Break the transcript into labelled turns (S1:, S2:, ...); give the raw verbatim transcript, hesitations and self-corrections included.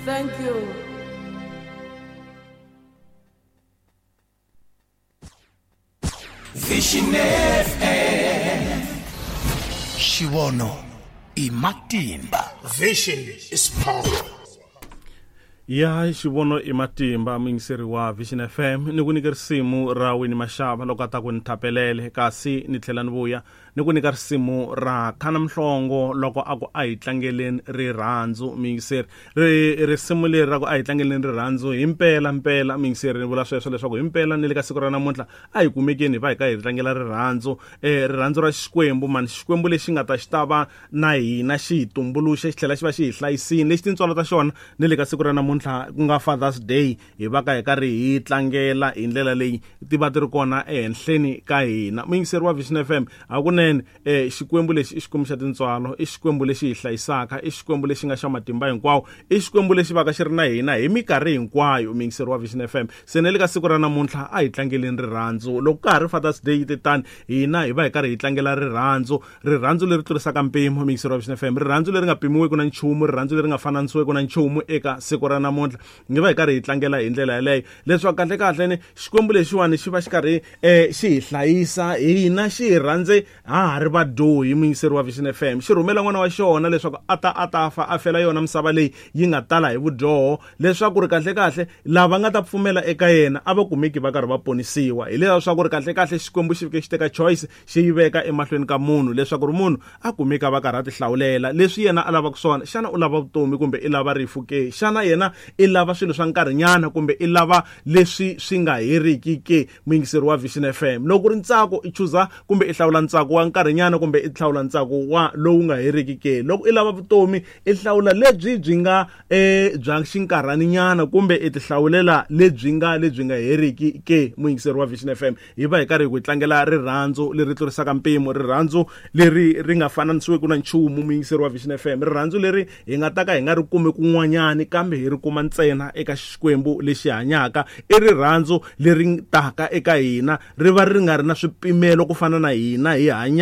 S1: Thank you.
S2: Vision F M. Xivono i matimba.
S3: Vision is power.
S4: Ya xivono i matimba muyingiseri wa Vision F M ni ku nyika risimu ra Winnie Mashaba loko a ta ku ni thapelele, kasi ni tlhela ni vuya ni ku nyika risimu ra Khana Mhlongo loko a ku a hi tlangeleni rirhandzu. Muyingiseri, ri risimu leri ra ku a hi tlangeleni rirhandzu hi mpela mpela muyingiseri, ni vula sweswo leswaku hi mpela ni le ka siku ra namuntlha a hi kumekeni hi va hi ka hi tlangela rirhandzu, eh rirhandzu ra Xikwembu mani, Xikwembu lexi nga ta xi ta va na hina xi hi tumbuluxe xi tlhela xi va xi hi hlayisile, lexi tintswalo ta xona ni le ka siku ra namuntlha ku nga Father's Day hi va ka hi karhi hi tlangela hi ndlela leyi ti va ti ri kona ehenhleni ka hina. Muyingiseri wa Vision F M, hakunene eh Xikwembu lexi i Xikwembu xa tintswalo, i Xikwembu lexi hi hlayisaka, i Xikwembu lexi nga xa matimba hinkwawo, i Xikwembu lexi va ka xi ri na hina hi minkarhi hinkwayo. Muyingiseri wa Vision F M, se ne le ka siku ra namuntlha a hi tlangeleni rirhandzu. Loko ka ha ri Father's Day yi tani hina hi va hi karhi hi tlangela rirhandzu, rirhandzu leri tlurisaka mpimo. Muyingiseri wa Vision F M, rirhandzu leri nga pimiwiki na nchumu, rirhandzu leri nga fananisiweki na nchumu eka siku ra namuntlha ngi va hi karhi hi tlangela hi ndlela yaleyo, leswaku kahle kahle ni Xikwembu lexiwani xi va xi karhi eh xi hi hlayisa hina, xi hi rhandze ha ha ri vadyohi. Muyingiseri wa Vision F M, xi rhumela n'wana wa xona leswaku a ta a ta fa a fela yona misava leyi yi nga tala hi vudyoho, leswaku ri kahle kahle lava nga ta pfumela eka yena a va kumeki va karhi va ponisiwa. Hi leswaku ri kahle kahle Xikwembu xi fike xi teka choice xi yi veka emahlweni ka munhu leswaku ri munhu a kumeka va karhi a ti hlawulela leswi yena a lavaka swona. Xana u lava vutomi kumbe i lava rifu ke? Xana yena i lava swilo swa nkarhinyana kumbe i lava leswi swi nga heriki ke? Muyingiseri wa Vision F M, loko ri ntsako i chuza kumbe i hlawula ntsako wa nkarhinyana kumbe i hlawula ntsako wa lowu nga heriki ke? Loko i lava vutomi i hlawula lebyi byi nga eh bya xinkarhaninyana kumbe i ti hlawulela lebyi nga lebyi nga heriki ke? Muyingiseri wa Vision F M, hi va hi karhi hi ku tlangela rirhandzu leri tlurisaka mpimo, rirhandzu leri ri nga fananisiweki na nchumu. Muyingiseri wa Vision F M, rirhandzu leri hi nga ta ka hi nga ri kumi kun'wanyani kambe hi ri kuma ntsena eka Xikwembu lexi hanyaka. I rirhandzu leri taka eka hina ri va ri nga ri na swipimelo ku fana na hina hi